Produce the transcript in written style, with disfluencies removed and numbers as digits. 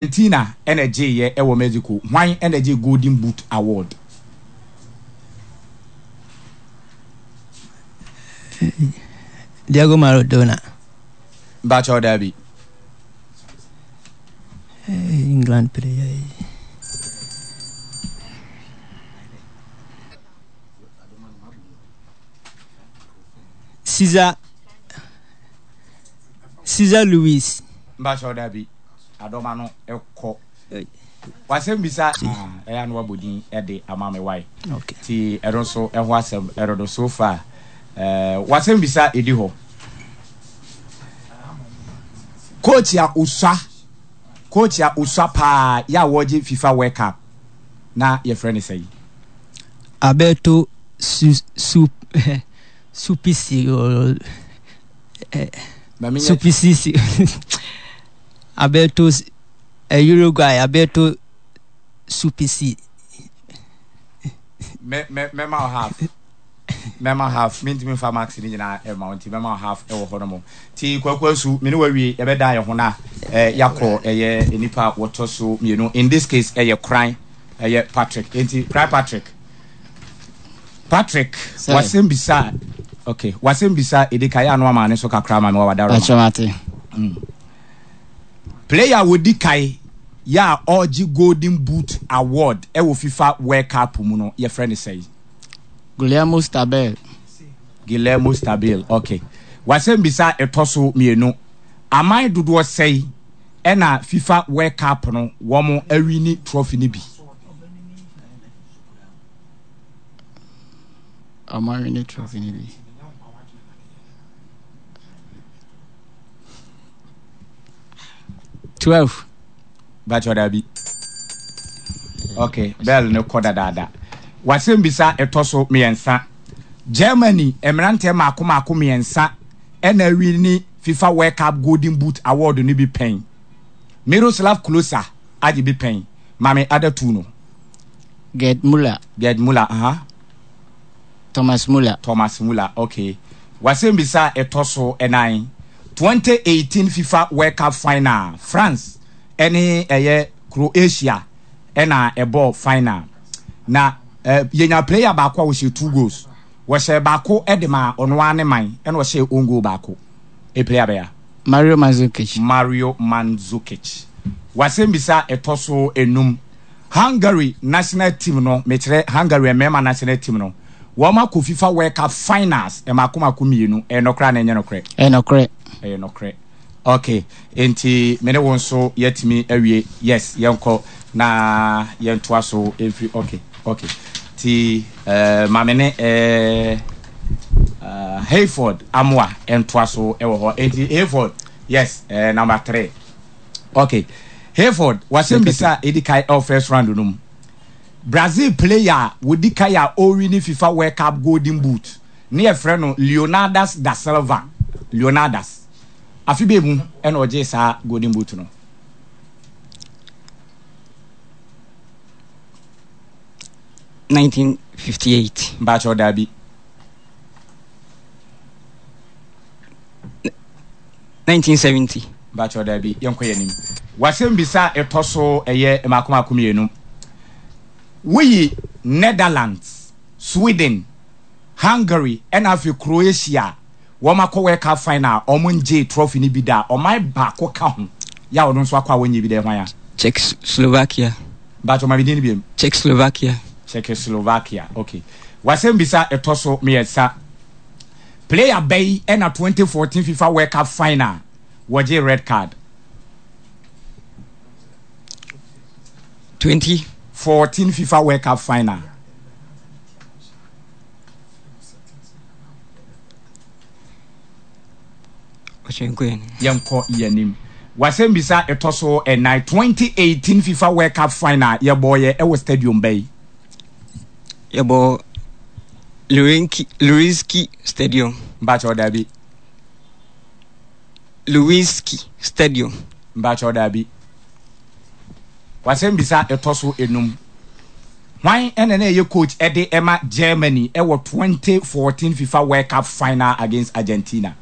Argentina na ɛgyeeɛ wɔ Mexico. Hwan na ɛgyee Golden Boot Award? Diego Maradona. Mpakyɛw daabi. England player yi. Cesar Cesar Luis. Mpakyɛw daabi. Adɔma no kɔ. W'asɛm bisa ɛyɛ a na wabɔ din de ama me wai. Ti ɛno nso ɛho asɛm ɛdodo so far. W'asɛm bisa ɛdi hɔ. Coach a osua coach a osua paa yɛ a wɔgye FIFA World Cup na yɛfrɛ no sɛn? Alberto Su Su Supisi Supisi Alberto Uruguay Alberto Supisi. Mɛma wo half. Mɛma half. Mentumi mfa marks no nyinaa ɛma wo nti mɛma wo half ɛwɔ hɔ nom. Ti Kwaku Asu, me ne wawie yɛbɛda yɛn ho na yɛakɔ ɛyɛ nipa a wɔtɔ so mmienu. In this case ɛyɛ Koran, ɛyɛ Patrick. Nti Koran Patrick. Patrick, wasɛm bisa okay, wasɛm bisa edi ka yɛ ano ama ne so kakra ma me wa wadaro. Akyɛmate. Player a wɔdi kae yɛ a ɔregye Golden Boot Award wɔ FIFA World Cup mu no, yɛfrɛ no sɛn? Guillermo Stabile. Guillermo Stabile, okay. W'asɛmbisa a ɛtɔ so mmienu, aman dodoɔ sɛn ɛna FIFA World Cup no wɔn awini trophy no bi? Wɔn awini trophy no bi. 12. Bàtchɛ dabi. Okay, bell no kɔ dadaada. Wasɛm bisa ɛtɔ so mmiɛnsa. Germany mmeranteɛ mmaako mmaako mmiɛnsa ɛna awi ne FIFA World Cup Golden Boot Award no bi pɛn. Miroslav Klose agye bi pɛn. Maame ada tu no. Gerd Müller. Gerd Müller, aha. Uh -huh. Thomas Muller. Thomas Muller, okay. W'asɛmbisa a ɛtɔ so nan, 2018 FIFA World Cup final, France ne ɛyɛ Croatia na ɛbɔɔ final. Na eh, yɛnya player baako a ɔhyɛ two goals. Wɔhyɛ baako de maa ɔno ara ne man, ɛna ɔhyɛ own goal baako. E player bɛya? Mario Mandzukic. Mario Mandzukic. W'asɛmbisa a ɛtɔ so enum, Hungary national team no, mekyerɛ Hungary mmarima national team no, wɔn akɔ FIFA World Cup finals mmaako mmaako mmienu. Ɛyɛ nɔkorɛ anaa ɛnyɛ nɔkorɛ? Ɛyɛ nɔkorɛ. Ɛyɛ nɔkorɛ. Okay, enti me ne wo nso yɛatumi awie. Yes, yɛnkɔ na yɛntoa so mfiri. Okay, okay. Ti eh, ma me ne eh, uh, Hayford Amoa ntoa so wɔ hɔ. Enti Hayford, yes, eh, number three. Ok Hayford wasɛm bisa a edi kan ɛwɔ first round no mu. Brazil player a wɔdi kan a ɔrewini FIFA World Cup Golden Boot ne yɛfrɛ no Leonardas da Silva. Leonardas. Afe bɛɛ mu ɛna ɔgyee saa Golden Boot no? 1958. Mpakyɛw daabi. 1970. Mpakyɛw daabi, yɛnkɔ yɛn anim. W'asɛmbisa a ɛtɔ so ɛyɛ mmaako mmaako mmienu. Woyi Netherlands, Sweden, Hungary ɛna afei Croatia a wɔn akɔ World Cup final a wɔn ngyee trophy no bi da a, ɔman baako ka ho yɛ a ɔno nso akɔ a wɔnyɛ bi da, ɛhwan a? Czechoslovakia. Mpakyɛw ma me din no biom. Czechoslovakia. Czechoslovakia, okay. W'asɛmbisa a ɛtɔ so mmiɛnsa. Player bɛyi na 2014 FIFA World Cup final wɔgye red card? 20. 14 FIFA World Cup final. Yɛnkɔ yɛnim. Wasɛm bisa ɛtɔ so ɛnan 2018 FIFA World Cup final yɛbɔɔyɛ ɛwɔ stadium bɛyi. Yɛbɔ Lurinki Lurinski Stadium. Mpakyɛw dabi. Luwinski Stadium. Mpakyɛw dabi. Wasɛm bisa ɛtɔ so enum. Hwan ɛna na ɛyɛ coach ɛde ɛma Germany ɛwɔ 2014 FIFA World Cup final against Argentina?